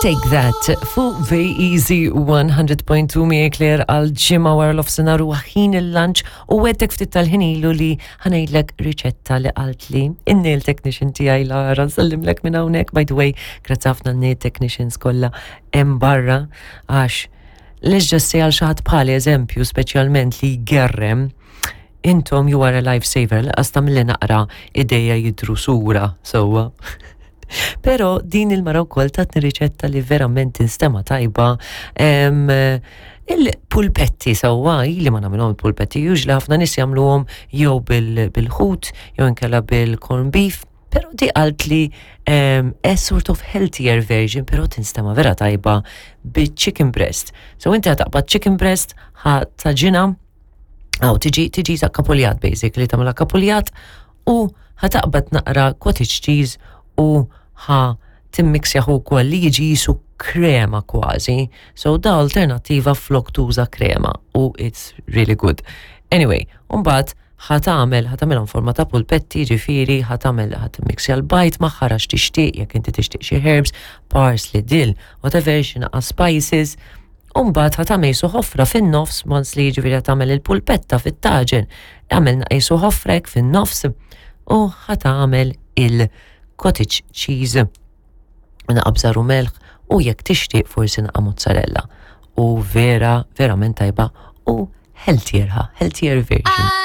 Take That fuq VEZ 100.2 miegħek Claire għal ġimgħa wara l-ofsinhar u ħin il-lunch u għedtek ftit tal-ħin ilu li ħanejdlek riċetta li qaltli in-nail technician tiegħi Lara nsellimlek minn hawnhekk by the way grazzi ħafna n-nail technicians kollha hemm barra għax let's just say għal xi ħadd bħali eżempju speċjalment li jgerrem intom you are a lifesaver, laqas tagħmilli naqra idejja jidru sura sewwa. Pero din il-mara wkoll tatni riċetta li verament tinstema tajba. Il-pulpetti sewwa, ili ma nagħmilhom il-pulpetti, usually ħafna nies jagħmluhom jew bil-ħut, jew inkella bil-corn beef. Pero di qalt li a sort of healthier version, pero tinstema vera tajba bi-chicken breast. So inti ħa chicken breast, ħa tagħġinha, għaw tiġi tiġi ta' kapuljat basically, tagħmilha kapuljat u ħa taqbad naqra cottage cheese u ħa timmixjahu wkoll li jiġi jisu krema kważi. So da alternativa flok tuża krema u it's really good. Anyway, mbagħad ħa tagħmel, ħa tagħmelhom forma ta' pulpetti, ġifieri, ħa tagħmel, ħa timmixja l-bajd magħha għax tixtieq, jekk inti tixtieq xi herbs, parsley, dill, whatever, xi naqa spices. Umbagħad ħa tagħmel jisu ħofra fin-nofs, once li ġifieri ħa tagħmel il-pulpetta fit-taġen, għamel jisu ħofrek fin-nofs u ħa tagħmel il-cottage cheese naqa bżar u melħ u jekk tixtieq forsi naqa mozzarella. U vera, verament tajba u healthier ha, healthier version.